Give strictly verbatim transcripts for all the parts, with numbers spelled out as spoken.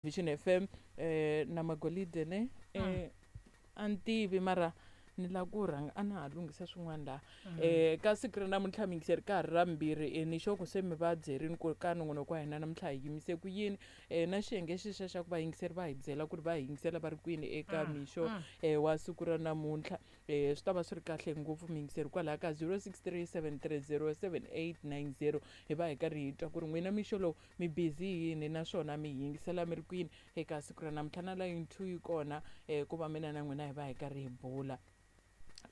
Vision F M eh na Magolide ne eh a ni tivi mara ni lava ku rhanga a na ha lunghisa swin'wana laha eh ka siku ra namuntlha mi yingiseri ka ha ri ra mbirhi eh, ni xo ku se mi va byerini ku ka nongonoko wa hina namuntlha hi yimise ku yini eh, na xiyenge xexa xa ku vayingiseri va hi byela ku ri va hi yingisela va ri kwini eka mixo eh, wa siku ra namuntlha eh, swi ta va swi ri kahle ngopfu miyingiseri kwalaha ka zero six three seven three zero seven eight nine zero hi va hi karhi hi twa ku ri n'wina mixo lowu mi busy yini naswona mi yingisela mi ri kwini eka siku ra namuntlha. Na line two yi kona eh, ku va mina na n'wina hi va hi karhi hi bula.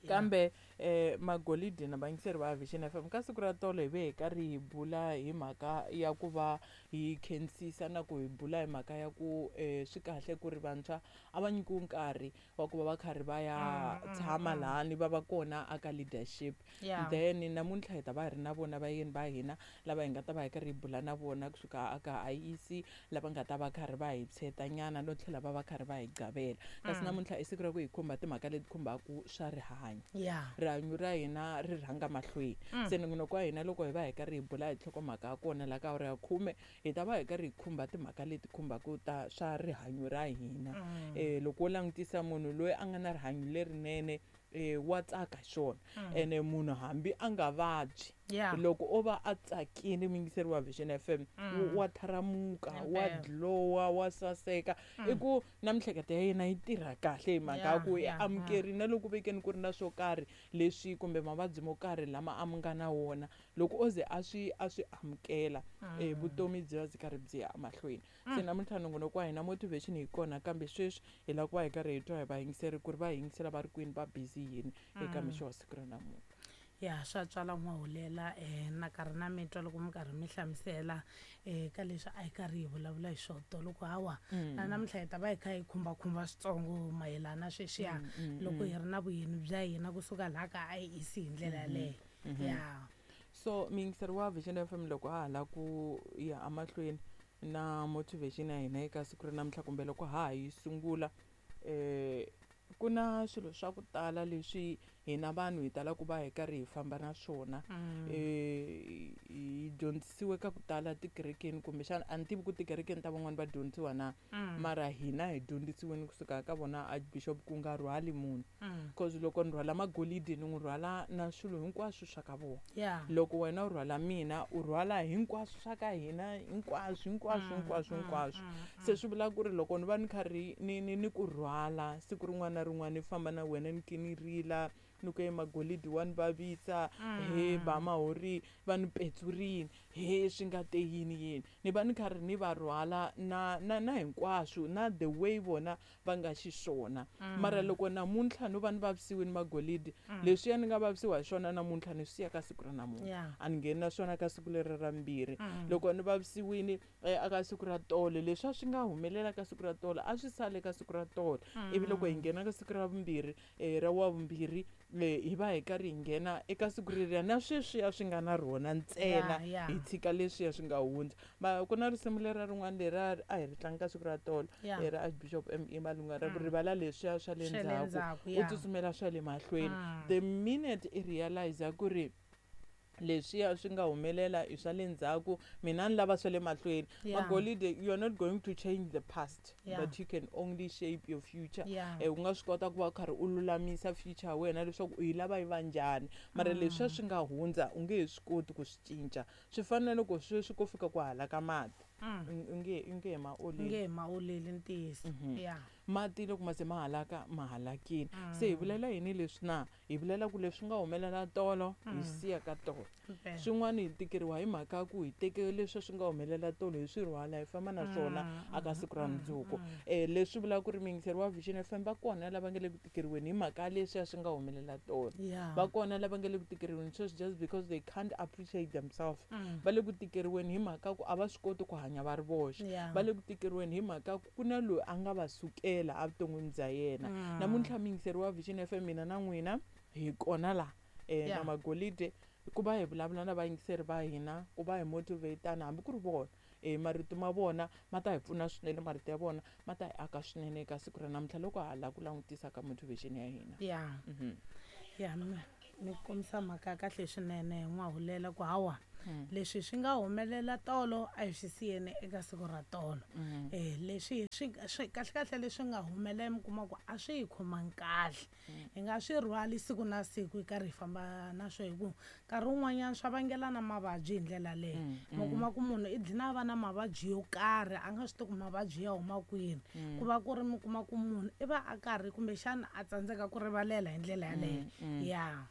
Kambe eh Magolide na vayingiseri va Vision F M, ka siku ra tolo hi ve hi karhi hi bula hi mhaka ya ku va hi khensisa na ku hi bula hi mhaka ya ku eh, swi kahle ku ri vantshwa a va nyikiwi nkarhi wa ku va va karhi va ya tshama lahani va va kona aka leadership. Yeah. Then namuntlha hi ta va hi ri na vona vayeni va hina lava hi nga ta va hi karhi hi bula na vona kusuka aka I E C, lava nga ta va karhi va hi tsheta nyana no tlhela va va karhi va hi gavela. Kasi namuntlha i siku ra ku hi khumba timhaka leti khumbaka swa rihanyo. Yeah. Rihanyo ra hina ri rhanga mahlweni. Se nongonoko wa hina, loko hi va hi karhi hi bula hi nhlokomhaka ya kona la ka awara ya khume, hi ta va hi karhi hi khumba timhaka leti khumbaka ta swa rihanyo ra hina. um loko wo langutisa munhu loyi a nga na rihanyo lerinene, um wa tsaka hi swona, ene munhu hambi a nga vabyi, Yeah. loko o va a tsakile, muyingiseri wa Vision F M, wa tharamuka, wa Impela. glowa, wa saseka, i ku na miehleketo ya yena yi tirha kahle hi mhaka ya Yeah, ku i yeah, amukerile. Na loko vekeni ku ri na swo karhi leswi kumbe mavabyi mo karhi lama a mi nga na wona, loko o ze a swi a swi amukela, um vutomi byi va byi karhi byi ya emahlweni. Se namuntlha nongonoko wa hina motivation hi kona, kambe sweswi hi lava ku va hi karhi hi twa hi vayingiseri ku ri va yingisela va ri kwini, va busy yini eka mixo wa siku ra namuntlha. Ya, swa tswala n'wahulela um na karhi na mi twa loko mi karhi mi hlamusela um ka leswi a hi karhi hi vulavula hi swona tolo, ku hawa na namuntlha hi ta va hi kha hi khumbakhumba switsongo mayelana na sweswiya loko hi ri na vuyeni bya hina kusuka laha ka I E C hi ndlela yaleyo ya. So muyingiseri wa Vision F M, loko ha ha lava ku ya emahlweni na motivation ya hina eka siku ra namuntlha kumbe loko ha ha yi sungula, eh ku na swilo swa ku tala leswi hina vanhu hi talaka ku va hi karhi hi famba na swona. eh hi dyondzisiwe ka ku tala tikerekeni, kumbexana a ni tivi ku tikerekeni ta van'wani va dyondzisiwa na, mara hina hi dyondzisiweni kusuka ka vona Archbishop ku nga rhwali munhu, cause loko ni rhwala Magolidi, ni n'wi rhwala na swilo hinkwaswo swa ka vona. Ya Loko wena u rhwala mina, u rhwala hinkwaswo swa ka hina, hinkwaswo, hinkwaswo, hinkwaswo, hinkwaswo. Se swi vula ku ri loko ni va ni karhi ni ni ni ku rhwala siku rin'wana na rin'wana, ni famba na wena, ni ki ni rila, ni ku, "E Magolidi wa ni vavisa, he ba mahori va ni petsurini, he swi nga te yini yini," ni va ni karhi ni va rhwala na na na hinkwaswo na the way vona va nga xiswona. Mara loko namuntlha no va ni vavisiwini Magolidi, leswiya ni nga vavisiwa hi swona namuntlha ni swi siya ka siku ra namuntlha. Yeah. A ni ngheni na swona ka siku leri ra mbirhi. Loko ni vavisiwini eh, aka siku ra tolo, leswi a swi nga humelela ka siku ra tolo a swi sale ka siku ra tolo. Ivi loko hi nghena ka siku ra vumbirhi, um ra wa vumbirhi, um hi va hi karhi hi nghena eka siku reriya na sweswiya swi nga na rona ntsena. Yeah, yeah. Hi tshika leswiya swi nga hundza. Ma ku na risimu lera rin'wana lera a hi ri tlanga ka siku ra tolo, Yeah. eh, ra Archbishop M E Malunga, ra ku rivala leswiya swa le Swa le ndzhaku, ndzhaku, u yeah. tsutsumela swa le mahlweni. The minute i realize ku ri leswiya swi nga humelela i swa le ndzhaku, mina ni lava swa le mahlweni. Yeah. Magolide, you are not going to change the past, Yeah. but you can only shape your future. Yeah. Eh, u nga swi kota ku va u karhi u lulamisa future ya wena leswaku u yi lava yi va njhani, mara leswiya swi nga hundza u nge he swi koti ku swi cinca. Swi fana na loko sweswi ko fika ku hala ka mati, u nge u nge he ma oleli. Nge ma oleli, ntiyiso, ya. Mati loko ma ze ma halaka, ma halakile. Se hi vulela yini leswi na hi vulela ku leswi nga humelela tolo hi siya ka tolo? Impela. Swin'wana hi tikeriwa hi mhaka ya ku hi teke leswi swi nga humelela tolo, hi swi rhwala, hi famba na swona aka siku ra mundzuku. um leswi vulaka ku ri muyingiseri wa Vision F M, va kona lava nga le ku tikeriweni hi mhaka ya leswiya swi nga humelela tolo. Ya Va kona lava nga le ku tikeriweni sweswi just because they can't appreciate themselves. Va le ku tikeriweni hi mhaka ku a va swi koti ku hanya va ri voxe. Yeah. Va le ku tikeriweni hi mhaka ku ku na loyi a nga va sukela evuton'wini bya yena. Namuntlha muyingiseri wa Vision F M, mina na n'wina hi kona laha um Yeah. na Magolide ku va hi vulavula na vayingiseri va hina, ku va hi motivatana, hambi ku ri vona um marito ma vona ma ta hi pfuna swinene, marito ya vona ma ta hi aka swinene eka siku ra namuntlha loko ha lava ku langutisa ka motivation ya hina. Ya Mhm. Ya mi mi kombisa mhaka ya kahle swinene, n'wahulela, ku hawa Leswi swi nga humelela tolo a hi swi siyeni eka siku ra tolo. Eh leswi swi swi kahle kahle leswi nga humelela mi kuma ku a swi hi khomangi kahle. Hi nga swi rhwali siku na siku hi karhi hi famba na swo hi ku nkarhi wun'wanyana swa vangela na mavabyi hi ndlela leyo. Mi kuma ku munhu i dlina a va na mavabyi yo karhi a nga swi tivi ku mavabyi ya huma kwini. Ku va ku ri mi kuma ku munhu i va a karhi kumbexana a tsandzeka ku rivalela hi ndlela yaleyo. Ya.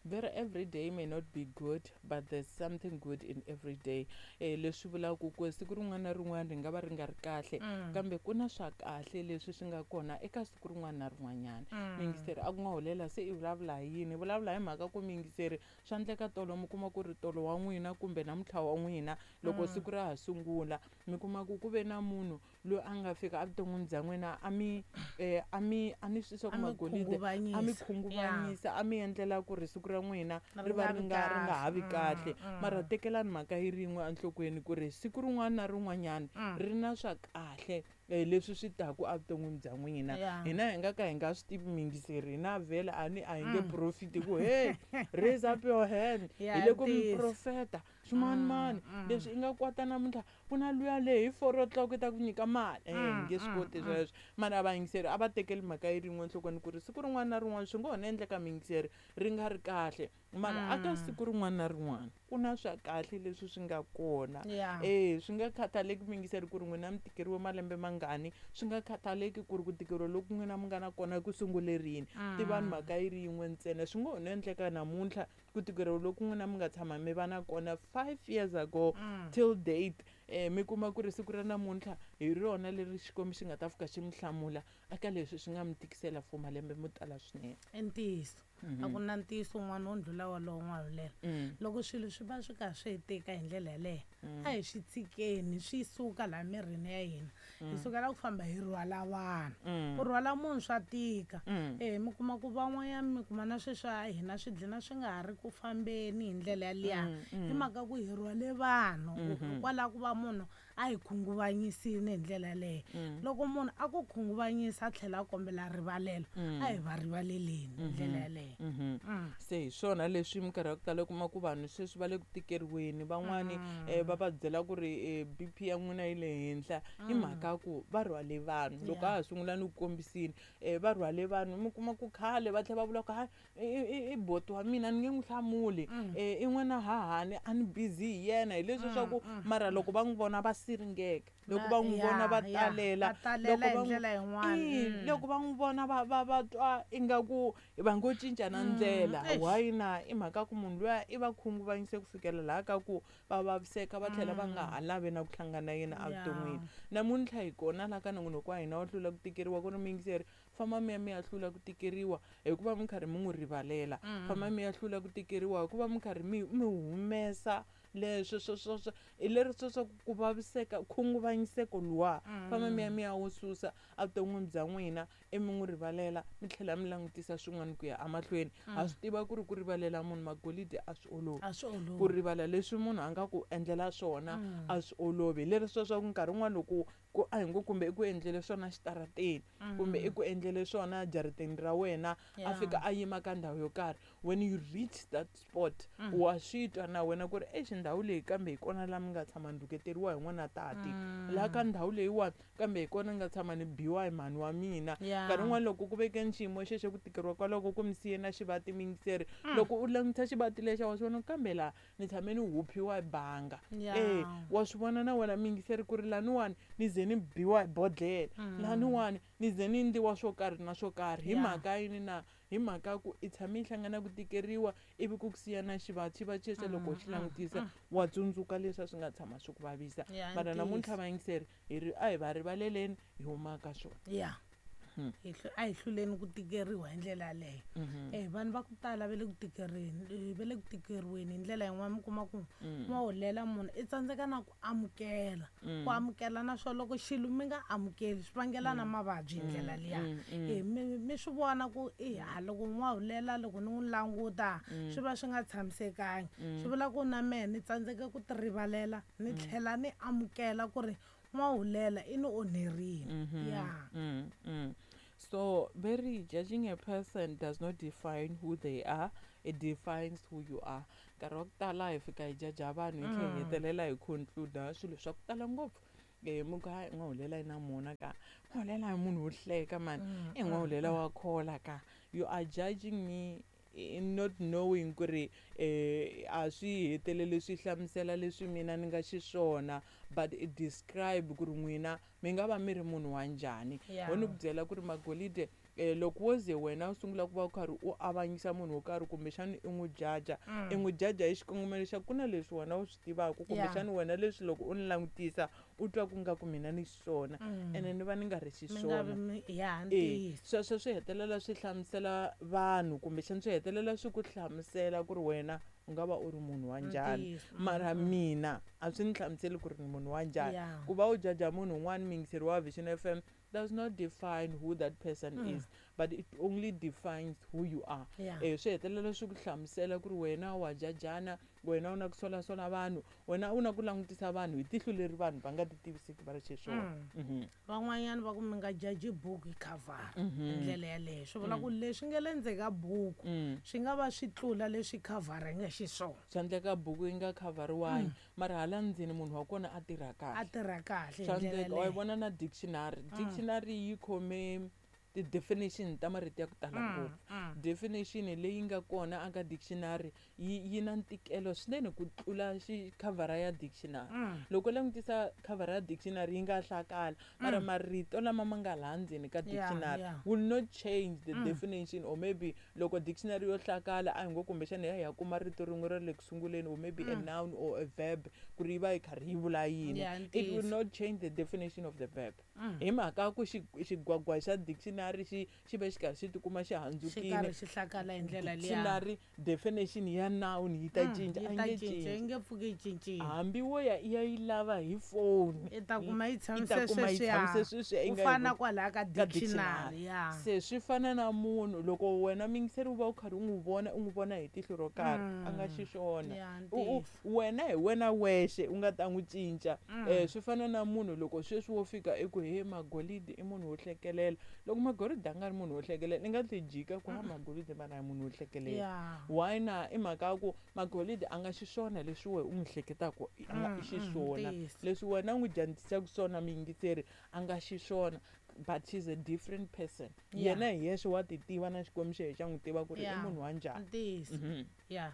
Very every day may not be good, but there's something good in every day. Eh leswi vulaka ku siku rin'wana na rin'wana ri nga va ri nga ri kahle, kambe ku na swa kahle leswi swi nga kona eka siku rin'wana na rin'wanyana. Miyingiseri a ku nga hulela se i vulavula hi yini? Vulavula hi mhaka ku miyingiseri swa endleka tolo mi kuma ku ri tolo wa n'wina kumbe namuntlha wa n'wina loko siku ra ha sungula mi kuma ku ku ve na munhu loyi a nga fika evuton'wini bya n'wina a mi eh a mi a ni swi swa ku magolide a mi khunguvanyisa a mi endlela ku ri siku ra n'wina ri va ri nga ri nga ha vi kahle. Mara tekelani mhaka yi rin'we enhlokweni ku ri siku rin'wana na rin'wanyana ri na swa kahle leswi swi taku evuton'wini bya n'wina. Hina hi nga ka hi nga swi tivi miyingiseri, hina vhele a ni a hi nge profiti ku hey raise up your hand hi le ku mi profeta swimanimani leswi i nga kwata namuntlha ku na luya leyi hi four o'clock i ta ku nyika mali. Eh hi nge swi koti sweswo. Mara vayingiseri a va tekeli mhaka yi rin'we enhlokweni ku ri siku rin'wana na rin'wana swi ngo ho no endleka miyingiseri ri nga ri kahle, mara aka siku rin'wana na rin'wana ku na swa kahle leswi swi nga kona. Eh swi nga khathaleki miyingiseri ku ri n'wina mi tikeriwe malembe mangani, swi nga khathaleki ku ri ku tikeriwa loku n'wina mi nga na kona ku sungule rini. Tivani mhaka yi ri yin'we ntsena, swi ngo ho no endleka namuntlha ku tikeriwa loku n'wina mi nga tshama mi va na kona five years ago till date eh mi kuma ku ri siku ra namuntlha hi rona leri Xikwembu xi nga ta fika xi mi hlamula eka leswi swi nga mi tikisela for malembe mo tala swinene. I ntiyiso. A ku na ntiyiso wun'wana wo ndlula wolowo n'wahulela. Loko swilo swi va swi karhi swi hi tika hi ndlela yaleyo a hi swi tshikeni swi suka laha mirini ya hina. Hi sukela ku famba hi rhwala vanhu. Ku rhwala munhu swa tika. Eh mi kuma ku van'wanyana mi kuma na sweswi a hina swi dlina swi nga ha ri ku fambeni hi ndlela yaliya. Hi mhaka ku hi rhwale vanhu hikwalaho ku va munhu a hi khunguvanyisile hi ndlela yaleyo. Loko munhu a ku khunguvanyisa a tlhela a kombela rivalelo a hi va rivaleleni hi ndlela yaleyo. Se hi swona leswi minkarhi ya ku tala u kuma ku vanhu sweswi va le ku tikeriweni, van'wani va va byela ku ri B P ya n'wina yi le henhla hi mhaka ku va rhwale vanhu. Loko a ha sungula ni ku kombisini va rhwale vanhu mi kuma ku khale va tlhela va vula ku hayi i boti wa mina ni nge n'wi hlamuli i n'wana hahani a ni busy hi yena hi leswi swa ku mara loko va n'wi vona va siringeka, loko va n'wi vona va talela, loko va loko va n'wi vona va va va twa ingaku va ngo cinca na ndlela. Why na? I mhaka ku munhu luya i va khunguvanyise ku fikela laha ka ku va vaviseka va tlhela va nga ha lavi na ku hlangana na yena evuton'wini. Namuntlha hi kona laha ka nongonoko wa hina wa hlula ku tikeriwa ku ri miyingiseri famba mi ya mi ya hlula ku tikeriwa hikuva mi karhi mi n'wi rivalela, famba mi ya hlula ku tikeriwa hikuva mi karhi mi mi humesa leswo swo swo swo hi leri swo swa ku vaviseka khunguvanyiseko luwa, famba mi ya mi ya wu susa evuton'wini bya n'wina i mi n'wi rivalela mi tlhela mi langutisa swin'wana ku ya emahlweni. Ha swi tiva ku ri ku rivalela munhu magolide a swi olovi, ku rivala leswi munhu a nga ku endlela swona a swi olovi. Hi leri swo swa ku nkarhi wun'wana loko ku a hi ngo kumbe i ku endlele swona xitarateni kumbe i ku endlele swona jarateni ra wena a fika a yima ka ndhawu yo karhi, when you reach that spot wa swi twa na wena ku ri exi ndhawu leyi kambe hi kona laha mi nga tshama ni rhuketeriwa hi n'wana tati, laha ka ndhawu leyiwani kambe hi kona ni nga tshama ni biwa hi mhani wa mina. Nkarhi wun'wana loko ku vekeni xiyimo xexo ku tikeriwa kwaloko ku mi siye na xivati miyingiseri, loko u langutisa xivati lexa wa swi vona kambe laha ni tshame ni huphiwa hi banga. Eh wa swi vona na wena miyingiseri ku ri laniwani ni ze ni biwa hi bodlhela, laniwani ni ze ni endliwa swo karhi na swo karhi hi mhaka yini na? Hi mhaka ku i tshame i hlangana ku tikeriwa ivi ku ku siya na xivati, xivati xexo loko u xi langutisa wa tsundzuka leswi a swi nga tshama swi ku vavisa. Mara namuntlha vayingiseri hi ri a hi va rivaleleni hi huma ka swona. Ya a hi hluleni ku tikeriwa hi ndlela yaleyo. Eh vanhu va ku tala va le ku tikerini va le ku tikeriweni hi ndlela yin'wana mi kuma ku ma hulela munhu i tsandzeka na ku amukela, ku amukela naswona loko xilo mi nga amukeli swi vangela na mavabyi hi ndlela liya. Eh mi mi swi vona ku i ha loko n'wa hulela loko ni n'wi languta swi va swi nga tshamisekangi, swi vula ku na mehe ni tsandzeke ku ti rivalela ni tlhela ni amukela ku ri n'wa hulela i ni onherile. Ya. So very judging a person does not define who they are, it defines who you are. Nkarhi wa ku tala hi fika hi jaja vanhu hi tlhela hi Mm. hetelela hi conclude swilo swa ku tala ngopfu. Eh mi ku hayi n'wahulela na mona ka n'wahulela hi munhu wo hleka mani Mm, i n'wahulela wa khola ka. You are judging me in not knowing ku ri eh a swi heteleli swi hlamusela leswi mina ni nga xiswona, but it describe ku ri n'wina mi nga va mi ri munhu wa njhani. Yeah. Ho ni ku byela ku ri magolide eh loko wo ze wena u sungula ku va u karhi u avanyisa munhu wo karhi kumbexana i n'wi jaja, Mm. i n'wi jaja hi xikongomelo xa ku na leswi wena u swi tivaka kumbexana wena leswi loko u ni langutisa u twa ku nga ku mina ni xiswona Mm. ene ni va ni nga ri Mi nga vi xiswona. mi ya E ntiyiso. sweswo swi hetelela swi hlamusela vanhu kumbexana swi hetelela swi ku hlamusela ku ri wena u nga va u ri munhu wa njhani. Ntiyiso. Mara mina a swi ni hlamuseli ku ri ni munhu wa njhani. Yeah. Ku va u jaja munhu un'wana muyingiseri wa Vision F M does not define who that person Mm. is, but it only defines who you are. Yeah. Eh swi hetelela swi ku hlamusela ku ri wena wa jajana, wena u na ku solasola vanhu, wena u na ku langutisa vanhu hi tihlo leri vanhu va nga ti tivisiki va ri xiswona. Mm. Mhm. Van'wanyana va ku mi nga jaji buku hi khavhara hi Mhm. ndlela yaleyo. Swi vula ku leswi nga le ndzeni ka buku Mm. swi nga va swi tlula leswi khavhara yi nga xiswona. Swa endleka buku yi nga khavhariwangi, mara hala ndzeni munhu wa kona a tirha A kahle. tirha kahle hi Swa ndlela endleka wa yi yaleyo. vona na dictionary. Dictionary yi khome ti-definition ta marito ya ku tala ngopfu. Mm. Definition leyi nga kona aka dictionary yi yi na ntikelo swinene ku tlula xi khavhara ya dictionary. Mm. Loko u langutisa khavhara ya dictionary yi nga hlakala, mara marito lama ma nga laha ndzeni ka Yeah, dictionary yeah. will not change the definition. Or maybe loko dictionary yo hlakala a hi ngo kumbexana hi ya hi ya kuma rito rin'we ra le ku sunguleni or maybe a noun or a verb ku ri yi va yi karhi yi vula yini, Yeah, it will ntiyiso. not change the definition of the verb. Mm. Hi mhaka ya ku xi xigwagwa xa dictionary xi xi ve xi karhi xi tikuma xi Xi handzukile, karhi xi hlakala hi ndlela liya. dictionary definition ya noun yi ta Mm, cinca, yi a yi ta nge cinca, yi cinci. nge pfuki yi cincile. Hambi wo ya i ya yi lava hi phone, I ta kuma yi yi tshamise ta kuma yi sweswiya. tshamise sweswiya yi Ku nga yi fana voni kwalaya ka ka dictionary, dictionary. ya. Se swi fana na munhu loko wena muyingiseri u va u karhi u n'wi vona u n'wi vona hi tihlo ro karhi a nga xiswona. Ya, U- u- ntiyiso. wena hi wena wexe u nga ta n'wi cinca. Eh swi fana na munhu loko sweswi wo fika i ku he Magolide i munhu wo hlekelela. Loko Magolide a nga ri munhu wo hlekelela i nga tlhe jika ku ha Magolide mara hi munhu wo hlekelela. Ya. Why na i mhaka ya ku Magolide a nga xiswona leswi wena u n'wi hleketaka a nga Mm, i xiswona. mm, ntiyiso. Leswi wena u n'wi dyondzisaka swona muyingiseri a nga xiswona, but she's a different person. Yeah. Yena hi yexe wa ti tiva na Xikwembu xa yena xa n'wi tiva ku ri i Yeah. munhu wa njhani. Ntiyiso. Mhm. Ya.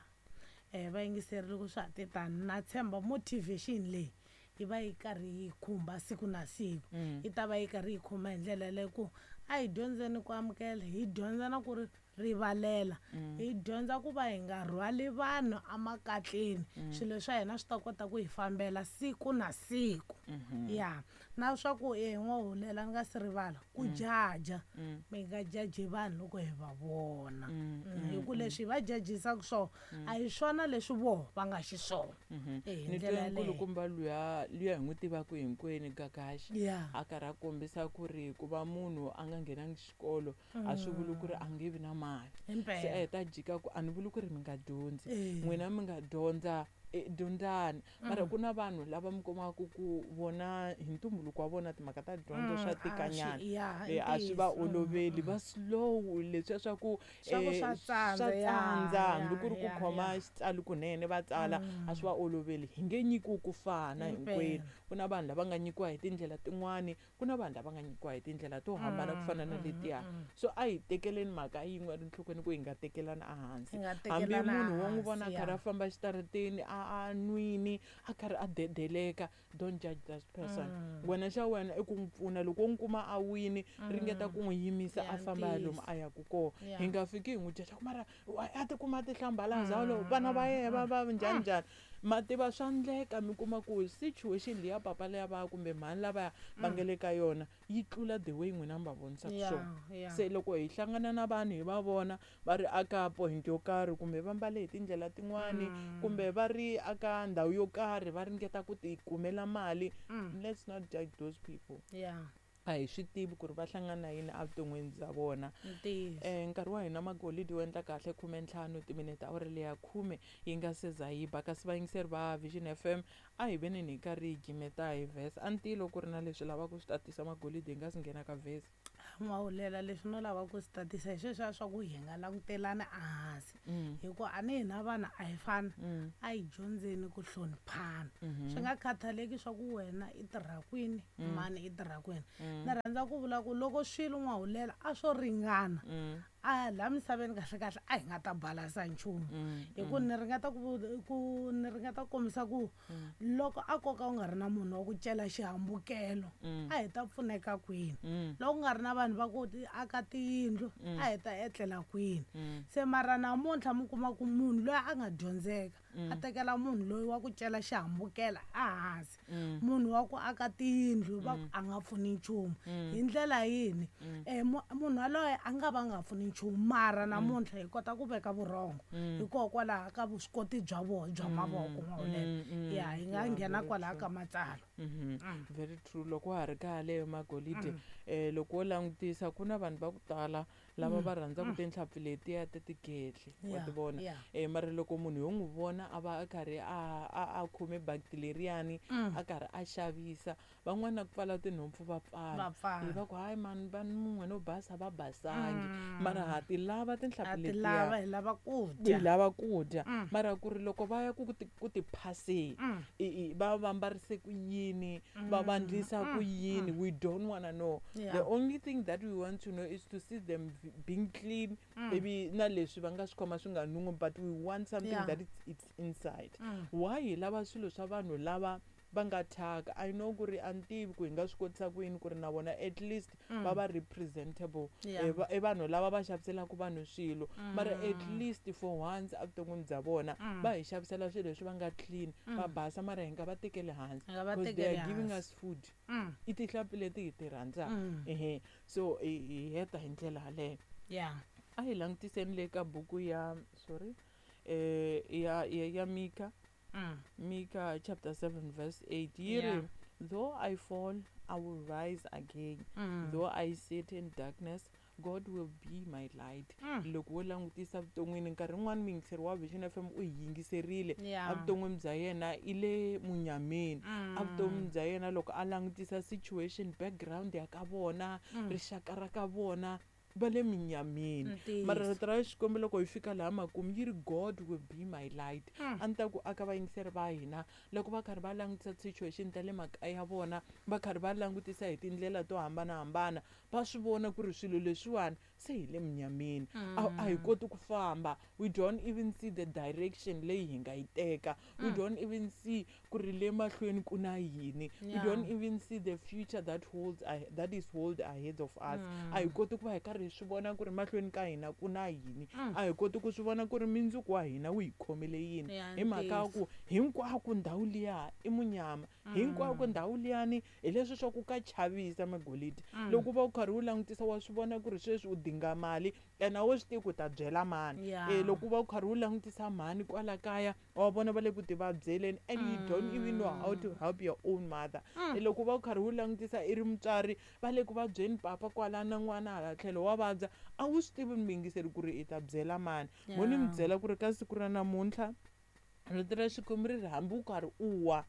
Eh vayingiseri loko swa ha te tani na tshemba motivation leyi yi va yi karhi yi khumba siku na siku. Mm. Yi ta va yi karhi yi khumba hi ndlela leyi ku a hi dyondzeni ku amukela, hi dyondza na ku ri rivalela, hi dyondza ku va hi nga rhwali vanhu emakatleni. Swilo swa hina swi ta kota ku hi fambela siku na siku. Ya. Na swa ku e n'wahulela ni nga si rivala ku jaja, mi nga jaji vanhu loko hi va vona. Mm, Mm, hi ku leswi hi va jajisaka swona a hi swona leswi voho va nga xiswona. Eh, hi Ni ndlela twe yaleyo. nkulukumba luya luya hi n'wi tivaka hinkwenu Gagashi Ya. a karhi a kombisa ku ri ku va munhu a nga nghenangi xikolo a swi vuli ku ri a nge vi na mali. Se a Himpela. heta jika ku a ni vuli ku ri mi nga dyondzi, Eh. n'wina mi nga dyondza e dyondzani, mara ku na vanhu lava mi kumaka ku vona hi ntumbuluko wa vona timhaka ta dyondzo swa Mm, a swi- tikanyana. ya, Eh, a swi va ntiyiso. oloveli, va slow leswiya swa ku Swa ku eh, swa tsandza, swa ya, tsandza hambi ya, ku ri ku ya, khoma ya. xitsalo kunene va tsala a swi va oloveli. Hi nge nyikiwi ku fana Himpela. hinkwenu. Ku na vanhu lava nga nyikiwa hi tindlela tin'wani, ku na vanhu lava nga nyikiwa hi tindlela to hambana ku fana na letiya. So a hi tekeleni mhaka yin'we enhlokweni ku hi nga tekelani ehansi. Hi nga Hambi tekelana munhu wo n'wi vona a ehansi, karhi ya. a famba exitarateni a a nwini a karhi a dedeleka, don't judge that person. Wena xa wena i ku n'wi pfuna loko u n'wi kuma a wini, ringeta ku n'wi yimisa Ya, a famba ya lomu ntiyiso. a yaka kona. Ya. Hi nga fiki hi n'wi jaja ku mara why a tikuma a tihlambalaza lo vana va yena va va njhani njhani. Ma tiva swa endleka mi kuma ku situation liya papa liya va kumbe mhani lavaya va nga le ka yona yi tlula the way n'wina mi va vonisaka Ya, swona. ya. Se loko hi hlangana na vanhu hi va vona va ri aka point yo karhi kumbe va mbale hi tindlela tin'wani kumbe va ri aka ndhawu yo karhi va ringeta ku ti kumela mali, let's not judge those people. Ya. A hi swi tivi ku ri va hlangana na yini evuton'wini bya vona. Ntiyiso. Eh nkarhi wa hina Magolidi wu endla kahle khume ntlhanu timinete awara leya khume yi nga se za yi ba, kasi vayingiseri va Vision F M A hi veneni hi karhi hi gimeta hi verse. A ni tivi loko ku ri na leswi lavaka swi tatisa magolidi hi nga si nghena ka verse. N'wahulela leswi no lava ku swi tatisa hi sweswiya swa ku hi nga langutelani ehansi Mm. hikuva a ni hina vanhu a hi fani Mm. a hi dyondzeni ku hloniphana Mhm. swi nga khathaleki swa ku wena i tirha kwini Mm. mani i tirha kwini Mm. ni rhandza ku vula ku loko swilo n'wahulela a swo ringana Mm. a laha misaveni kahlekahle a hi nga ta balasa nchumu Mm. hi ku ni ringeta ku ku ni ringeta ku kombisa ku Mm. loko a koka u nga ri na munhu wa ku cela xihambukelo Mm. a hi ta pfuneka kwini Mm. loko ku nga ri na vanhu va ku ti- aka tiyindlu Mm. a hi ta etlela kwini Mm. se mara namuntlha mi kuma ku munhu loyi a nga dyondzeka Mm. a tekela munhu loyi wa ku cela xihambukela ehansi Mm. munhu wa ku aka tiyindlu va ku Mm. a nga pfuni nchumu Mm. hi ndlela yini Mm. um munhu yaloye a nga va nga pfuni nchumu mara namuntlha hi kota ku veka vurhongo Mm. hikokwalaho ka vuswikoti bya vona bya mavoko n'wahulela Mm, mm. ya hi nga Yeah, nghena very kwalaho true. ka matsalwa Mhm. Mm. Very true. Loko wa ha ri ka yaleyo magolide eh loko wo langutisa ku na vanhu va ku tala lava va rhandzaka tinhlampfi letiya ta tigedle wa Yeah, ti vona yeah. eh mara loko munhu yo n'wi vona a va a karhi a a a khome bakiti leriyani Mm. a karhi a xavisa van'wana na ku pfala tinhompfu va pfala Va pfala. hi va ku hayi mani va mun'we no basa va basangi mara ha ti lava a tinhlampfi ti letiya lava hi lava ku hi dya lava ku dya Mm. mara ku ri loko va ya ku ku ti ku ti phaseni Mm. i- i- va va mbarise ku yini va va ndlisa ku yini we don't wanna know Yeah. the only thing that we want to know is to see them v- being clean maybe na leswi va nga swi khoma swi nga nun'wi but we want something Yeah. that it's, it's inside Mm. why hi lava swilo swa vanhu lava va nga thyaka i know ku ri a ni tivi ku hi nga swi kotisa ku yini ku ri na vona at least va va representable Yeah. Eh, va- i vanhu lava va xaviselaka vanhu swilo mara at least for once evuton'wini bya vona va hi xavisela swilo leswi va nga clean va basa mara hi nga va tekeli hansi Hi nga va because they tekeli are giving hansi. us food Mm. i tinhlampfi leti hi ti rhandzaka Mm. ehe so hi hi heta hi ndlela yaleyo yeah a hi langutiseni le ka buku ya sorry eh ya ya, ya Mika Mm. Mika chapter seven verse eight yi ri Yeah. though I fall I will rise again Mm. though I sit in darkness God will be my light Mm. loko wo langutisa vuton'wini nkarhi wun'wani muyingiseri wa Vision F M u hi yingiserile Yeah. evuton'wini bya yena i le munyameni Mm. evuton'wini bya yena loko a langutisa situation background ya ka vona rixaka ra ka vona va le minyameni Ntiyiso. mara rito ra Xikwembu loko hi fika laha makumu yi ri God will be my light Mm. a ni ta ku aka vayingiseri va hina loko va karhi va langutisa situation ta le makaya ya vona va karhi va langutisa hi tindlela to hambanahambana va swi vona ku ri swilo leswiwani se hi le munyameni a a hi koti ku famba we don't even see the direction leyi hi nga yi teka we don't even see ku ri le mahlweni ku na yini we Yeah. don't even see the future that holds ahe- that is hold ahead of us a hi koti ku va hi karhi hi swi vona ku ri mahlweni ka hina ku na yini a hi koti ku swi vona ku ri mindzuku wa hina wu hi khomele yini Ya, hi mhaka ya ku hinkwako ndhawu liya i munyama hinkwako ndhawu liyani hi leswi swa ku ka chavisa magolidi loko u va u karhi u langutisa wa swi vona ku ri sweswi u dinga mali ene a wu swi tivi ku ta byela mani Yeah. Eh, loko u va u karhi u langutisa mhani kwala kaya wa vona va le ku ti vabyeleni and you don't even know how to help your own mother Eh, loko u va u karhi u langutisa i ri mutswari va le ku vabyeni papa kwala na n'wana hala tlhelo wa vabya a wu swi tivi muyingiseri ku ri i ta byela mani mo ni mi Yeah. byela ku ri ka siku ra namuntlha rito ra Xikwembu ri ri hambi u karhi u wa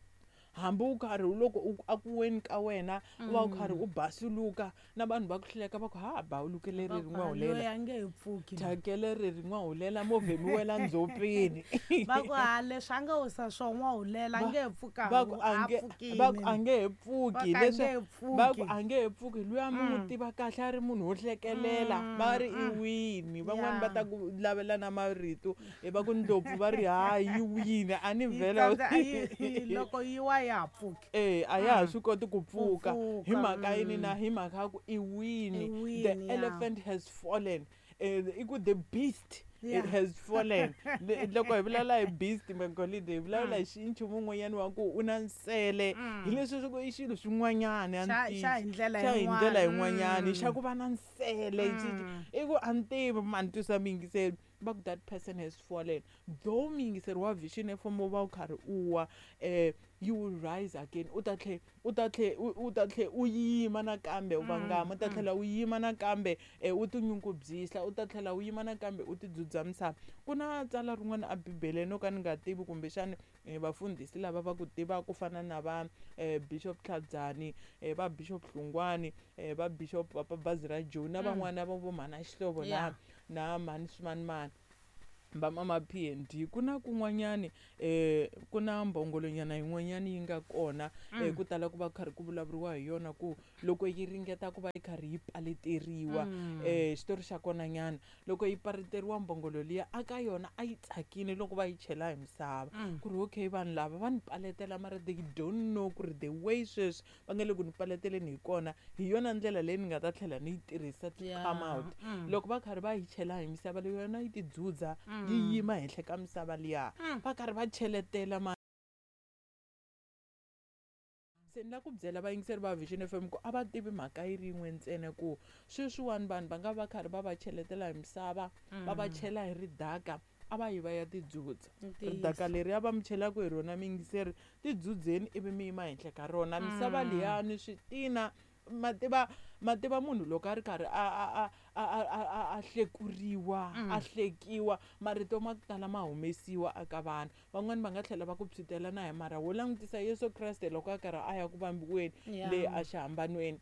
hambi u karhi loko u a ku weni ka wena u va u karhi u basuluka na vanhu va ku hleka va ku ha bawuluke leri ri n'wa loyi hulela a nge he pfuki thyakele ri ri n'wa hulela movha mi wela ndzhopeni va ku ha leswi a nga wisa swo n'wa hulela a nge he pfuka va ku a a nge pfukini va ku a nge he pfuki Va ku a leswi nge he pfuki. va ku a nge he pfuki luya mi n'wi tiva kahle a ri munhu wo hlekelela va ri i wini van'wani va Yeah. ta ku lavela na marito e va ku ndlopfu va ri hayi yi wini a ni Yi vhela tsandza- yi- yi- loko yi wa ya ha pfuki e a ya ha swi koti ku pfuka pfuka, hi mhaka yini na hi mhaka ya ku i wini I wini, the yeah. elephant has fallen Eh, i ku the beast Yeah. it has fallen Le- loko hi vulavula hi beast magolide hi vulavula hi xi nchumu wun'wanyana wa ku u na nsele hi leswi swi ku i xilo xin'wanyana a ni Xa- tivi. xa hi ndlela xa hi yin'wana. ndlela yin'wanyana Mm. xa ku va na nsele xi- xi- i ku a ni tivi mani twisa muyingiseri va ku that person has fallen though muyingiseri wa Vision F M u va u karhi u wa um you will rise again u ta tlhe u ta tlhe u u ta tlhe u yima nakambe u vangama u ta tlhela u yima nakambe um u tinyungubyisa u ta tlhela u yima nakambe u tidzudza misava ku na tsala rin'wana a bibeleni no ka ni nga tivi kumbexani eh, vafundhisi lava va ku tivaka ku fana na va eh, Bishop Tlhadzani, eh, va Bishop Hlungwani, eh, va Bishop Papa Bazi ra Joe na Mm. van'wana va vo mhana Xihlovo na Yeah. na mhani swimanimani va mama P and D. Ku na kun'wanyani eh ku na mbongolonyana yin'wanyani yi nga kona, eh, Mm. ku tala ku va karhi ku vulavuriwa hi yona ku loko yi ringeta ku va yi karhi yi paleteriwa, Mm. eh, xitori xa kona nyana loko yi paleteriwa mbongolo liya a ka yona a yi tsakile loko va yi chela hi misava. Mm. Ku ri okay vanhu lava va ni paletela mara they don't know ku ri the way sweswi va nga le ku ni paleteleni hi kona hi yona ndlela leyi ni nga ta tlhela ni yi tirhisa to Yeah. come out. Mm. Loko va karhi va yi chela hi misava leyi yona yi tidzudza Mm. yi yima henhla ka misava liya. Mm. Va karhi va cheletela ma se ni la ku byela vayingiseri va Vision F M ku a va tivi mhaka yi ri yin'we ntsena ku sweswiwani vanhu va nga va karhi va va cheletela hi misava, va va Mm. chela hi ridaka, a va yi va ya tidzudza. Ntiyiso. Ridaka leri a va mi chelaka hi rona miyingiseri, tidzudzeni ivi mi yima henhla ka rona. Misava Mm. liyani switina ma tiva, ma tiva munhu loko a ri karhi a, a, a, a, a, a, a, a hlekuriwa, Mm. a hlekiwa, marito ma ku tala ma humesiwa eka vanhu. Van'wani va nga tlhela va ku phyutela na hi mara wo langutisa Yesu Kreste loko a karhi a ya ku vambiweni Yeah. le exihambanweni.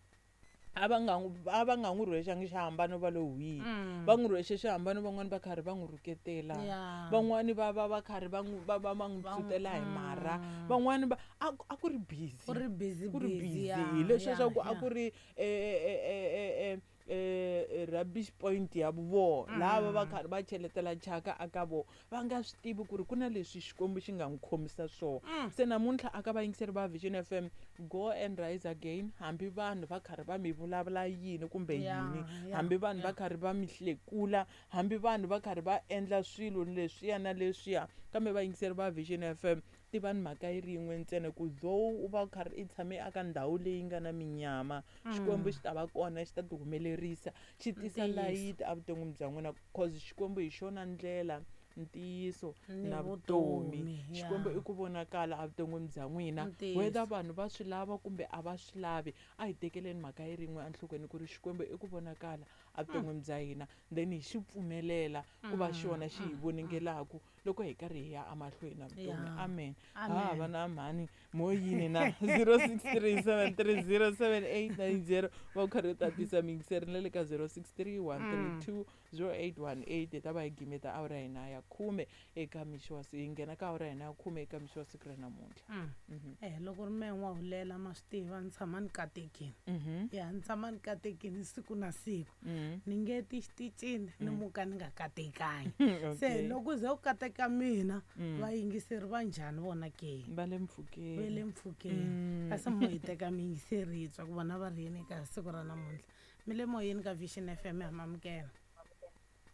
A va nga n'wi, a va nga n'wi rhwexangi xihambano va lo hwihi. Mm. Va n'wi rhwexe xihambano van'wani va karhi va n'wi rhuketela. Yeah. Van'wani va va va karhi va n'wi, va, va, va n'wi Va n'wi phyutela hi mara. Mm. Van'wani va, a ku, a ku ri busy. Ku ri busy, Ku ri busy, busy. yeah, Hi leswiya swa yeah, ku a yeah. ku ri, eh, eh, eh, eh, eh, eh, rubbish point ya vona. Lava va Mm. karhi va cheletela thyaka aka vona. Va nga swi tivi ku ri ku na leswi Xikwembu xi nga n'wi khomisa swona. Mm. Se namuntlha aka vayingiseri va Vision F M, go and rise again. Hambi vanhu va karhi va mi vulavula yini kumbe Yeah, yini, yeah, hambi vanhu va yeah. karhi va mi hlekula, hambi vanhu va karhi va endla swilo leswiya na leswiya, kambe vayingiseri va Vision F M, tivani mhaka yi ri yin'we ntsena ku though u va u karhi i tshame eka ndhawu leyi nga na minyama, Mm. Xikwembu xi ta va kona, xi ta ti humelerisa, xi tisa Ntiyiso. layiti evuton'wini bya n'wina, cause Xikwembu hi xona ndlela, ntiyiso Ni na vutomi. vutomi, Xikwembu yeah. i ku vonakala evuton'wini bya n'wina. Ntiyiso. Whether vanhu va swi lava kumbe a va swi lavi, a hi tekeleni mhaka yi ri yin'we enhlokweni ku ri Xikwembu i ku vonakala evuton'wini bya hina, then hi xi pfumelela ku va Mm, xona xi hi mm, mm. voningelaku loko hi karhi hi ya emahlweni na vutomi. Yeah. Amen. Amen. Ha va na mhani mo yini na zero six three seven three zero seven eight nine zero va karhi u tatisa miyingiseri na le ka zero six three one three two zero eight one eight. Hi ta va hi gimeta awara ya hina ya khume eka mixo wa hi nghena ka awara ya hina ya khume eka mixo wa siku ra namuntlha. Mm. Mhm. Eh, loko ri mehe n'wa hulela ma swi tiva ni tshama ni katekile. Mhm. Ya, ni tshama ni katekile siku na siku. Mm. Ni nge ti xitichini ni Mm. muka ni nga katekangi. Okay. Se loko ze u kateka mina, Mm. vayingiseri va njhani vona ke? Va le mpfhukeni. Va le mpfhukeni. Mm. Kasi mo hi teka miyingiseri hi twa ku vona va ri yini eka siku ra namuntlha. Mi le moyeni ka Vision F M ha mamukela.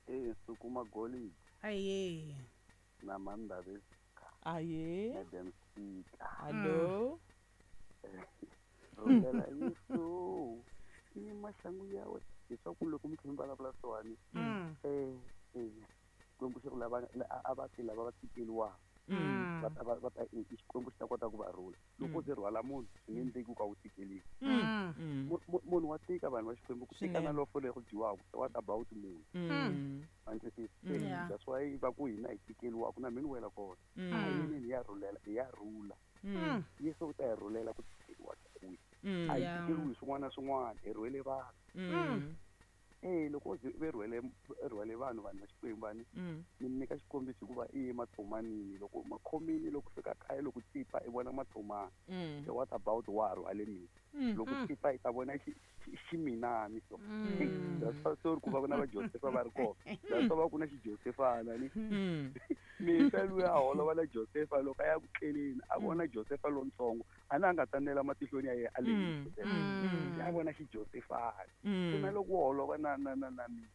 Eh, suku magoli. Aye. Na mandave. Aye. Madam Speaker. Hello. Mm. Rhumela Yesu. Ni maxangu ya wena. Leswaku loko mi tlhela mi vulavula swona, Mm. eh, eh, Xikwembu xi ri lava, la, a va ti lava va tikeliwaka. Mm. Va ta, va, va ta, eh, Xikwembu xi ta kota ku va rhula. Loko Mm. ze rhwala munhu, swi nge endleki ku ka wu tikeliwi. Mm. Mm. Mu-, mu-, munhu wa tika vanhu va Xikwembu, ku tika na Swinene. lofo leri dyiwaka, what about munhu? Mm. Ma ni twisisa? Mm. Eh, Yeah. that's why va ku hina hi tikeliwaka, na mina ni wela kona. Mm. A hi yini hi ya rhulela, hi ya rhula. Mm. Yesu u ta hi rhulela ku tikeliwa ka kwihi. Mm. A hi Yeah. tikeliwi hi swin'wana na swin'wana, hi rhwele vanhu. Mm. Eh, loko u ze u rhwele, u rhwele vanhu, vanhu va Xikwembu, va ni, Mm. ni nyika xikombiso hikuva i ye matshomanini. Loko makhomini, loko fika kaya, loko tsipa, i vona matsomani. Mm. So what about wa rhwale mina? Mm. Loko Mm. tsipa, i ta vona xi-, xi-, ximinani so. Mm. That's why sorry ku va ku na va Josefa va ri kona. That's why va ku na xijosefana ni. Mm. Mihla luya a holova na Josefa loko a ya ku tleleni, a vona Josefa lontsongo, a na a nga tsanela matihlweni ya yena a lehile Mm. Josefa. Mm. A vona xijosefana. Mm. Se na loko wo holova na, na, na, na mina,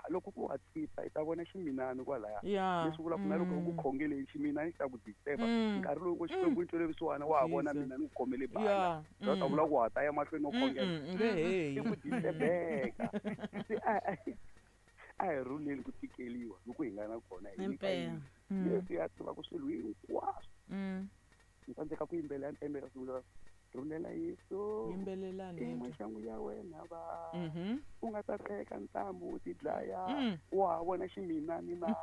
loko ku wa tsipa, i ta vona ximinani kwalaya. Yeah. Leswi vulaka na loko u ku Mm. khongeleni, ximinani xi ta ku disturb-a. Mm. Nkarhi lowu ku Xikwembu xi twele vusiwana, wa ha vona Jesus. mina ni ku khomele bala. Yeah. Za ta Mm. vula ku wa ha ta ya mahlweni no Mm, khongela. mm, nge he. I ku disturbeka. Se a, a, a hi rhuleni ku tikeliwa loko hi nga na kona, hi nyika Impela. yini. Mm. Yesu ya tiva ku swilo hinkwaswo. Mm. Ni tsandzeka ku yimbelela ni yimbelela swilo leswi. Rhulela Yesu yimbelelani i maxangu ya wena va mhm u nga ta teka ntambu u ti dlaya Mm. wa vona ximinani na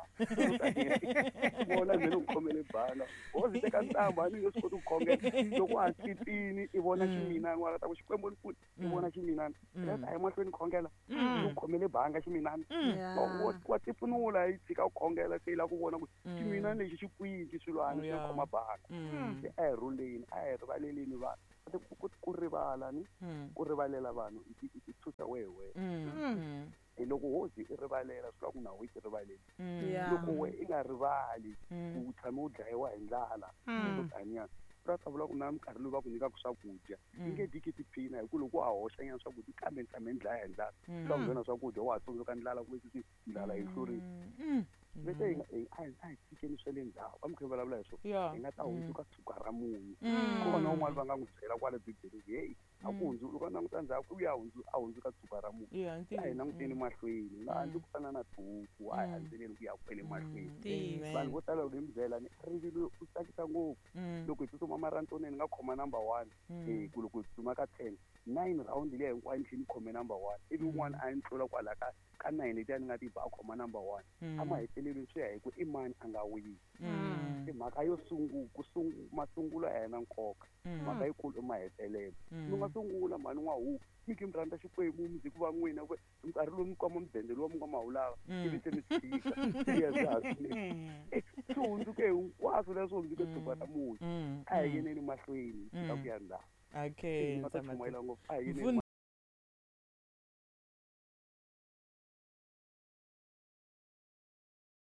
vona mina u khomele bala wo zi teka ntambu a ni nge swi koti ku khongela loko a titini i vona ximinani wa ta ku xikwembu ni pfuni i vona ximinani Mm. a yi mahlweni khongela Mm. u khomele banga ximinani Yeah. wa- wa tipfunula yi tshika ku khongela se yi lava ku vona ku Mm. ximinani lexi xi kwini xilwani xi Yeah. khoma banga Mm. se a hi rhuleni a hi rivaleleni vanhu Ku- ku ku rivala ni Mm. ku rivalela vanhu i ti- i ti thusa wehe wehe Mm. Mm. hi loko wo zi i rivalela swi vula ku na we ti rivaleli Mm. Yeah. loko we i nga rivali Mm. u tshame u dlayiwa hi ndlala Mm. swo taniya swi ta vula ku na minkarhi lowu va ku nyikaka swakudya Mm. i nge dyiki tiphina hi ku loko wa hoxa nyana swakudya kambe ni tshame ni dlaya hi ndlala Mm. swi vona swakudya wa ha tsundzuka ndlala ku ve ndlala yi hlurile Mm. vete hi nga- hi- a hi a hi tshikeni swa le ndzhaku a mi kha mi vulavula hi swona Yeah. hi nga ta hundzuka tshuka ra munyu Mm. kona un'wana va nga n'wi byela kwale bibeleni heyi a ku hundzu loko a languta ndzhaku u ya hundzu a hundzuka tshuka ra munyu Yeah, a hi ntiyiso. languteni mahlweni hi nga handzi ku fana na tihuku a hi handzeleni ku ya kwele mahlweni Ntiyiso. vanhu vo tala loko hi mi byela ni rivilo u tsakisa ngopfu Mm. loko hi tsutsuma marathoneni ni nga khoma number one Mm. eh ku loko hi tsutsuma ka ten nine round liya hinkwayo ni tlhela ni khome number one ivi un'wana a ni tlula kwala ka ka nine letiya ni nga ti ba a khoma number one Mm. a mahetelelweni swi ya hi ku i mani a nga wini Mm. i mhaka yo sungu ku sungu masungulo a yena nkoka Mm. mhaka yikulu i mahetelelo Mm. mi nga sungula mhani n'wa huku mi ki mi rhandza xikwembu mi ku va n'wina ku nkarhi lowu mi kwama mudende lowu mi nga ma wu lava Mm. ivi se mi tshika swi ya swi ha swinene swi hundzuke hinkwaswo leswi hundzuke tshuka ra munhu Mm. a hi yeneni mahlweni hi tshika Mm. ku ya ndzhaku Okay, ni nga ta Ntsama- chumayela ngopfu a hi yeneni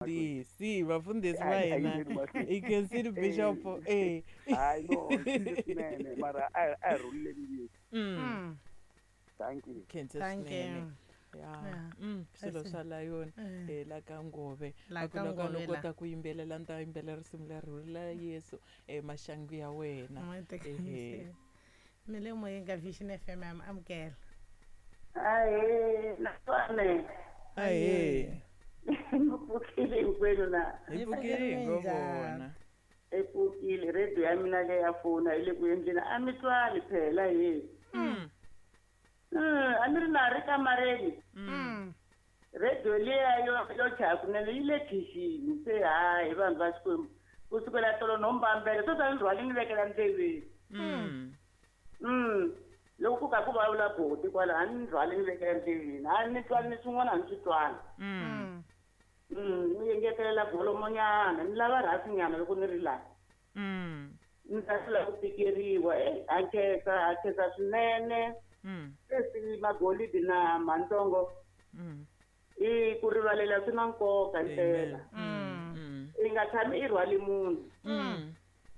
Mfundhisi, vafundhisi A va hi- a hi hina yeneni mahlweni. i khensile bishop eh hayi no swinene mara a hi- a hi rhuleleni Yesu Mm. Mm. thank you Khensa Thank swinene you. ya Yeah. Mm, swilo Kasi- swa layoni Eh. eh la ka ngove La A ku ka loko no Ngove la. kota ku yimbelela ni ta yimbelela risimu leri rhurila Yesu eh maxangu ya wena Ehe. mi le moyeni ka Vision F M ya mi amukela Ahee, naswona ahee mi pfukile hinkwenu na hi Hi pfukile hi ngo pfukile vona i pfukile radio ya mina leyi ya fona yi le ku endleni a mi twali phela he Mm. Mm, a ni ri na ri kamareni Mm. radio liya yo yo chaya kunene yi le khixini se hayi vanhu va Xikwembu ku sukela tolo no mbambela swo ta ni rhwali ni vekela ndleveni Mm. Mm, loko ku ka ku vulavula boti kwala a ni rhwali ni vekela ndleveni a ni twali ni swin'wana a ni swi twali Mm. Mm. Mm, ni engetelela volomonyana ni lava rhasinyana loko ni ri laha Mm. ni ta hlula ku tikeriwa e ha khensa ha khensa swinene Mm. sweswi magolidi na mantsongo Mm. i ku rivalela swi na nkoka Amen. mpela Mm. Mm. i nga tshami i rhwali munhu Mm.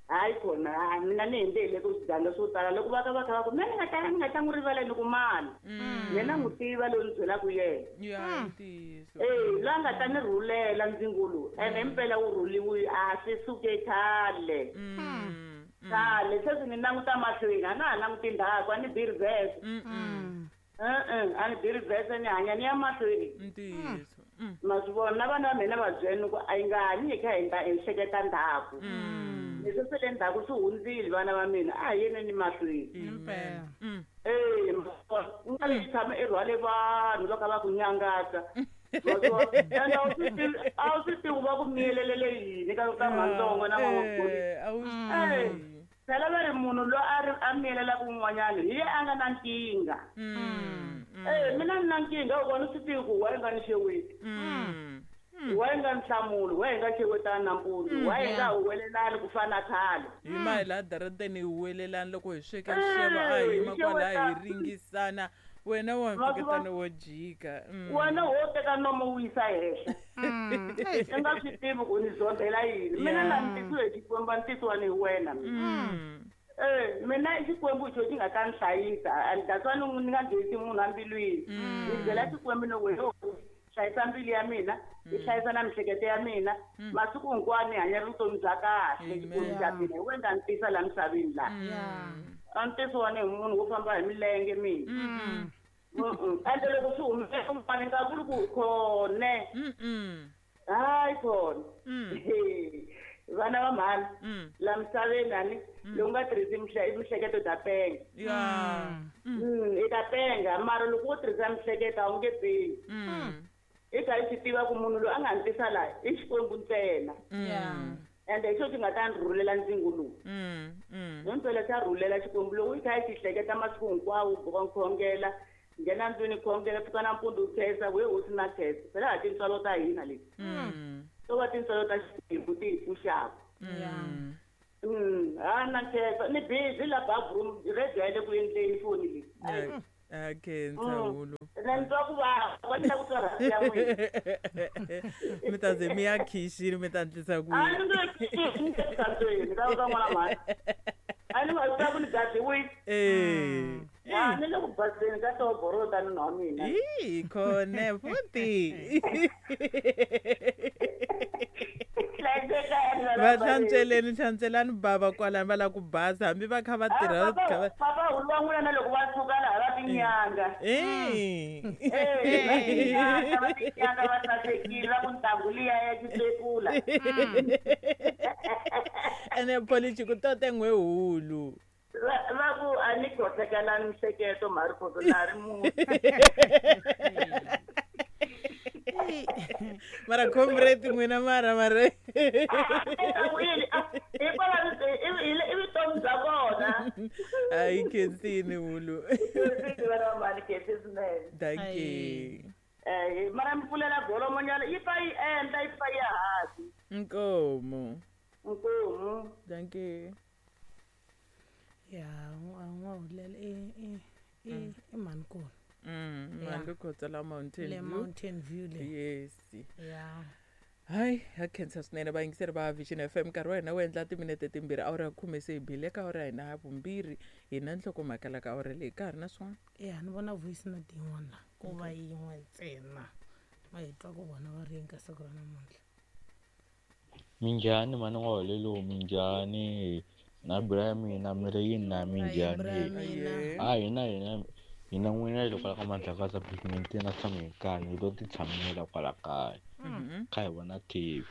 hayi khona ha mina ni hindze hi le ku swiganga swo tala loko va ka va kha va ku mina ni nga ta ni nga ta n'wi rivala ni ku mani Mm. mina n'wi tiva loyi ni byelaka yena Ya i ntiyiso. e loyi a nga ta ni rhulela ndzingulu ene himpela wu rhuliwile a swi suke khale Mm. Mm. khale sweswi ni languta mahlweni a na ha languti ndzhaku a ni bi reverse Mm. Mm. e-e a ni bi reverse ni hanya ni ya mahlweni Ntiyiso. Mm. ma swi vona na vana va mina va byela ku a yi nga hanyi hi kha hi nda- hi hleketa ndzhaku Mm. leswi swe le ndzhaku swi hundzile vana va mina a hi yeneni mahlweni Impela. Mm. e u nga vi tshama i rhwale vanhu va kha va ku nyangatsa Ma swi vona? Ende a wu swi tivi- a wu swi tivi va ku miyelelele yini ka ka mantsongo na n'wamagoli Eh, a wu swi Eh. tivi. phela va ri munhu loyi a ri a miyelelaka un'wanyana hi ye a nga na nkingha Mm. Mm. e mina ni na nkingha u vona swi tivi ku wa yi nga ni xeweti Mm. wa yi nga ni hlamuli wa yi nga xewetani nampundzu wa yi nga huwelelani ku fana na khale hi ma hi laha darateni hi huwelelani loko hi sweka xixevo a hi Eh, yima kwalaya hi xeweta. ringisana wena wa Ma swi mpfuketano vona? wo jika Mm. wena wo teka nomo wu yisa henhla Mm. Eish. i nga swi tivi ku ni zondela yini mina Yeah. na ni tisiwe hi xikwembu a ni tisiwa ni hi wena mina Mm. e mina i xikwembu xo xi nga ta ni hlayisa and that's why ni ni nga byelisi munhu ambilwini ni byela xikwembu ni ku yo hlayisa mbilu ya mina yi hlayisa na miehleketo ya mina masiku hinkwawo ni hanya vutomi bya kahle xikwembu xa mina hi wena ni tisa laha misaveni laha Yeah. a ni tisiwa ni hi munhu wo famba hi milenge mina Mm. Mm-mm. ende loko swi humelela un'wana ni nga vuli ku khone Mm. hayi khona Mm. Vana va mhani la misaveni ani loko nga tirhisi mihleketo ta penga. Ya. Mm, i ta penga mara loko u tirhisa mihleketo a wu nge pengi. I kha i swi tiva ku munhu loyi a nga ni tisa laha i Xikwembu ntsena. Ende hi xo xi nga ta ni rhulela ndzingo lowu. Hi mpela xa rhulela Xikwembu loko i kha i xi hleketa masiku hinkwawo u khongela nghena ndlwini khongela pfuka nampundzu u khensa we hosi na khensa phela ha tintswalo ta hina leti. To va tintswalo ta Xikwembu ti hi pfuxaka. Ha na khensa ni busy la bathroom radio ya le ku endleni foni leyi. A khensa hulu. Na ni twa ku vava va ni la ku twa rhasi ya n'wina. Mi ta ze mi ya khixini mi ta ndlisa ku A ni nge khixini ni nge tsandzweni ka ka n'wana mhani. A ni va ku ni gadiwile. Eh. A ni le ku baseni ka toboro ta nuna wa mina. Ii khone futhi. Va hlantsweleni hlantswelani bava kwalani va lava ku basa hambi va kha va tirha papa hulu wa n'wina na loko va suka laha va tinyanga. Eh. Eh, va tinyanga va tinyanga va sasekile va ku ntangu liya ya xipekula. Ene polichi ku tote n'we hulu. Va ku a ni khohlekelani mihleketo mhari khoto na ri munhu. Mara comrade n'wina mara mara. I vutomi bya vona. A yi khensini hulu. Dankie. Eh, mara mi pfulela golomonyana yi pfa yi endla yi pfa yi hansi. Nkomo. Nkomo. Dankie. Ya, n'wa hulela i i i i mhani kona. Mm, mhani khotsa la Mountain Le View. Mountain View le. Yes. Ya. Hayi, ha khensa swinene vayingiseri va Vision F M nkarhi wa hina wu endla timinete timbirhi awara ya khume se hi bile ka awara ya hina ya vumbirhi hi na nhlokomhaka la ka awara leyi ka ha ri na swin'wana. Ya, ni vona voice note yin'wana la ko va yin'we ntsena. Ma hi twa ku vona va ri yini ka siku ra namuntlha. Minjhani mhani n'wa holelo minjhani na bra ya mina mi ri yini na minjhani a hina hina hina n'wina hi le kwala ka Mandlakazi pavement na tshama hi kaya hi lo ti tshamela kwala kaya kha hi vona T V.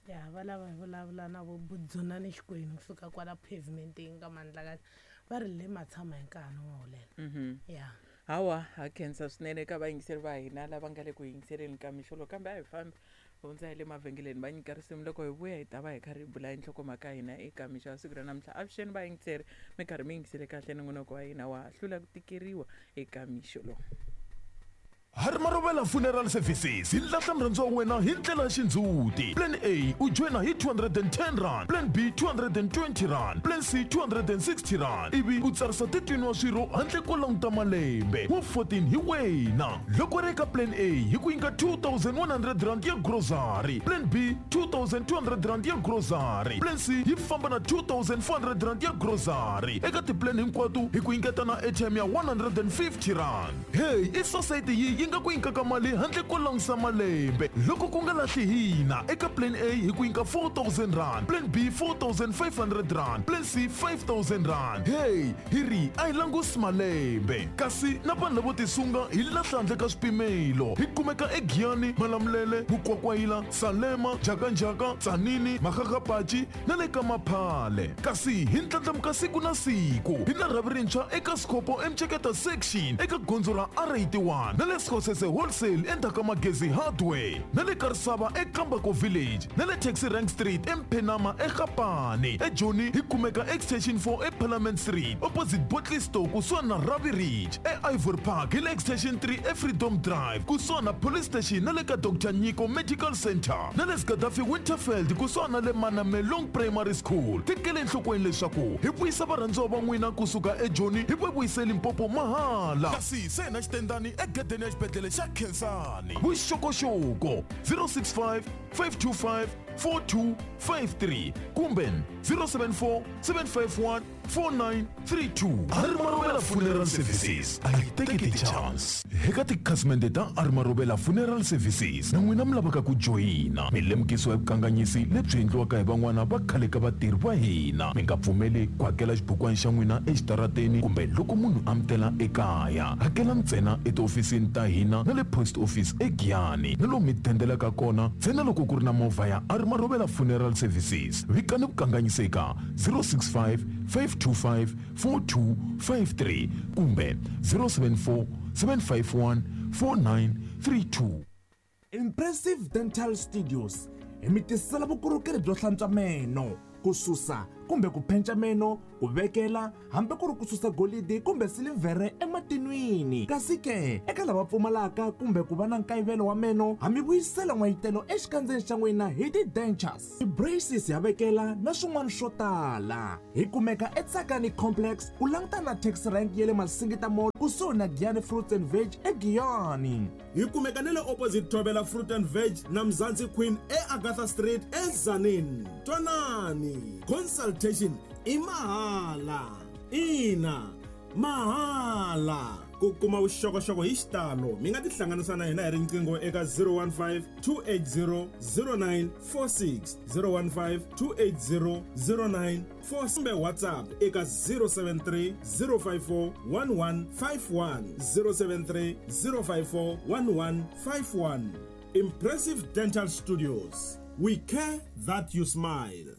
Ya va lava hi vulavula na vo Budzuna ni Xikwenu kusuka kwala pavementeng ka Mandlakazi va ri le matshama hi nkarhi n'wa holela. Ya. Hawa ha khensa swinene eka vayingiseri va hina lava nga le ku yingiseleni ka mixolo kambe a hi fambi hundza hi le mavhengeleni va nyika risimu loko hi vuya hi ta va hi karhi hi bula hi nhlokomhaka ya hina eka mixo ya siku ra namuntlha. Avuxeni vayingiseri mi karhi mi yingisele kahle nongonoko wa hina wa hlula ku tikeriwa eka mixo lowu. Harmarovela Funeral Services hi lahla murhandziwa wa wena hi ndlela ya xindzhuti. Plan A u joyina hi two hundred and ten rand, Plan B two hundred and twenty rand, Plan C two hundred and sixty rand. Ivi u tsarisa thirteen wa swirho handle ko languta malembe wa fourteen hi wena. Loko ri eka Plan A hi ku nyika two thousand one hundred rand ya grocery, Plan B two thousand two hundred rand ya grocery, Plan C yi famba na two thousand four hundred rand ya grocery. Eka tiplan hinkwato hi ku nyiketa na airtime ya one hundred and fifty rand. Hey, i society yi yi nga ku nyikaka mali handle ko langutisa malembe. Loko ku nga lahli hina eka Plan A hi ku nyika four thousand rand, Plan B four thousand five hundred rand, Plan C five thousand rand. Hey, hi ri a hi langusi malembe. Kasi na vanhu lavo tisunga hi lahla handle ka swipimelo. Hi kumeka eGiyani, Malamulele, Mukwakwayila, Salema, Jakanjaka, Tsanini, Makgakgapachi na le ka Maphale. Kasi hi ndlandlamuka siku na siku. Hi na rhavi rintshwa eka Scopo eMceketa section eka gondzo ra R eighty-one na le Skhosese Wholesale endzhaku ka Magezi Hardware na le Karisava eKambako Village na le Taxi Rank Street eMphenama eGapane. eJoni hi kumeka Extension four eParliament Street opposite Botley Store kusuhani na Ravi Ridge. E-Ivory Park hi le Extension three eFreedom Drive kusuhani na Police Station na le ka Doctor Nyiko Medical Center na le Gaddafi Winterfeld kusuhani na le Manamelong Primary School. Tekele enhlokweni leswaku hi vuyisa varhandziwa va n'wina kusuka eJoni hi va vuyise Limpopo mahala. Kasi se na xitendani egedeni ya xibedhlele xa Khensani. Vuxokoxoko zero six five five two five four two five three kumbe zero seven four seven five one four nine three two. Arimarovela Funeral Services a yi teki ti-chance. Eka tikhasimende ta Arimarovela Funeral Services na n'wina mi lavaka ku joyina, mi lemukisiwa hi vukanganyisi lebyi endliwaka hi van'wana va khale ka vatirhi va hina. Mi nga pfumeli ku hakela xibukwana xa n'wina exitarateni kumbe loko munhu a mi tela ekaya. Hakela ntsena etihofisini ta hina na le post office eGiyani na lomu mi dendelaka kona ntsena loko ku ri na movha ya Arimarovela Funeral Services. Vikani vukanganyisi eka zero six five, five two five, four two five three kumbe zero seven four, seven five one, four nine three two. Impressive Dental Studios hi mi tisela vukorhokeri byo hlantswa meno, ku susa kumbe ku phenca meno, ku vekela hambi ku ri ku susa golidi kumbe silivhere ematin'wini. Kasi ke eka lava pfumalaka kumbe ku va na nkayivelo wa meno, ha mi vuyisela n'wayitelo exikandzeni xa n'wina hi ti-dentures, ti-braces ya vekela na swin'wana swo tala. Hi kumeka eTsakani Complex ku langutana na taxi rank ya le Masingita Mall kusuhi na Giyani Fruits and Veg eGiyani. Hi kumeka na le opposite Thobela Fruit and Veg na Mzansi Queen eAgatha Street eZanini. Twanani, consultation i mahala. Ina, mahala. Ku kuma vuxokoxoko hi xitalo mi nga tihlanganisa na hina hi riqingho eka zero one five, two eight zero, zero nine four six, zero one five, two eight zero, zero nine four six kumbe WhatsApp eka zero seven three, zero five four, one one five one, zero seven three, zero five four, one one five one. Impressive Dental Studios. We care that you smile.